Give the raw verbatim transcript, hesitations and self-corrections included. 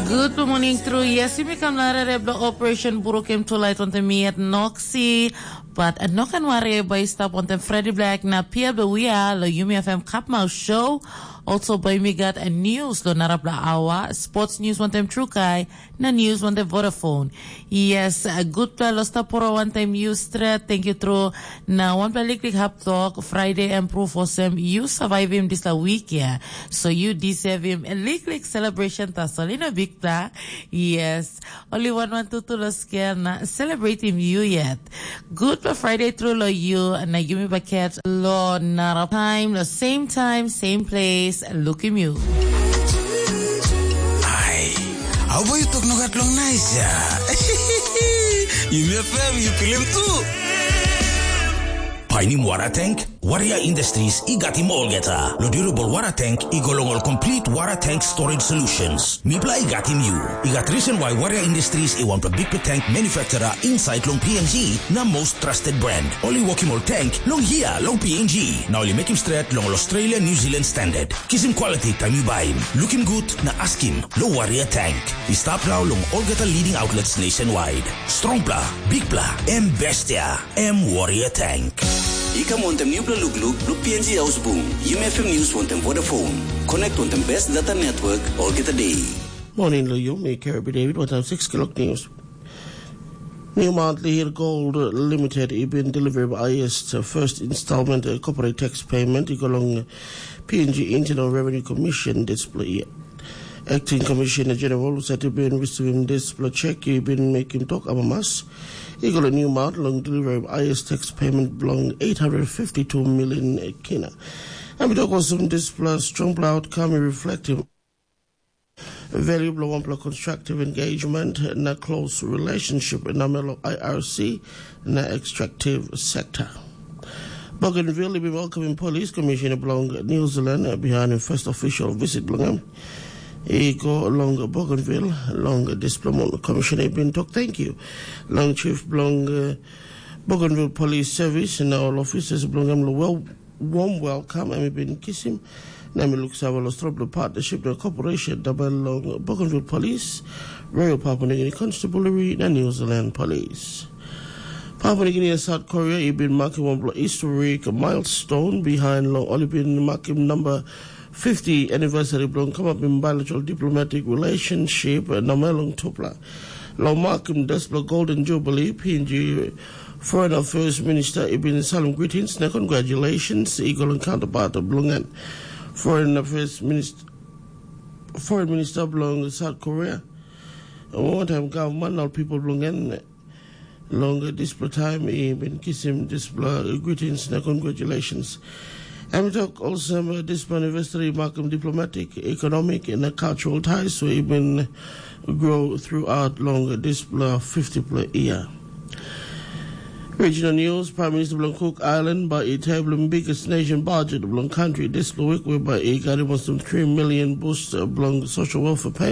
Good morning, true. Yes, yumi kam na rere blo Operation Burukim Tulait wantem mi at Noxi. But uh, no kan wari bai stap wantem Freddy Black na Pia Bewia lo Yumi F M Kapmau Show. Also bai mi gat a news lo narapla awa, sports news wantem Trukai, na news wantem Vodafone. Yes, uh, good pla lo stap poro wantem you stret. Thank you, true. Na wanpela liklik hap tok, Friday em proof olsem you survive him this la week, yeah. So you deserve him a liklik celebration tasol, you know, big pla. Yes. Only one one two two lo scare na celebrate him you yet. Good for Friday through lo you na yumi baket lo nara time lo same time, same place. Look him you. Ai, au bai tok nogat long nice ya. Yumi F M, you feel him too. Painim wara tank? Warrior Industries i gatim olgeta. Lo durable wara tank i go long ol complete wara tank storage solutions. Mipla i gatim you. I gat reason why Warrior Industries i want a big tank manufacturer inside long P N G na most trusted brand. Oli wokim ol tank long here long P N G. Na oli mekim stret long ol Australia New Zealand standard. Kisim quality time you buy. Looking good na askim lo Warrior tank. I stap now long olgeta leading outlets nationwide. Strongpla, bigpla, em bestia. Em Warrior Tank. I kam wantem nupela lukluk blo P N G Haus Bung, Yumi F M News wantem Vodafone. Connect wantem best data network olgeta day. Morning lo yumi, Kirby David, wantem six o'clock news. New Mount Lihir Gold Limited i bin deliver highest first installment uh, corporate tax payment i go long P N G Internal Revenue Commission display. Acting Commissioner General Sati bin receiving this pla check i bin mekim tok amamas. I go long new amount long delivery of highest tax payment belong eight hundred fifty-two million kina. Em i tok olsem dispela strongpela outcome i reflektim value bilong wanpela constructive engagement na close relationship na melo I R C na extractive sector. Bougainville i bin welcoming police commissioner bilong New Zealand behind im first official visit bilong em. I go long Bougainville long dispela commissioner i bin tok thank you long chief bilong uh, Bougainville Police Service na all officers bilong em lo well warm welcome em i bin kisim na mi luksave lo strong lo partnership na cooperation dabai long Bougainville Police, Royal Papua New Guinea Constabulary na New Zealand Police. Papua New Guinea na South Korea i bin makim wanpela historic milestone behind long ol i bin makim number fifty anniversary bilong kamapim bilateral diplomatic relationship na melong tupela. Long makim dispela Golden Jubilee, P N G Foreign Affairs Minister i bin salim greetings na congratulations i go long counterpart bilong en. Foreign Affairs Minister Foreign Minister bilong South Korea, wantaim gavman na ol pipel bilong en long dispela taim i bin kisim dispela greetings na congratulations. Em i tok olsem dispela anniversary i makim diplomatic, economic na cultural ties we i bin grow throughout long dispela fifty pla year. Regional News, Prime Minister bilong Cook Island bai i table biggest nation budget bilong country dispela week whereby i got almost three million boost bilong social welfare payment.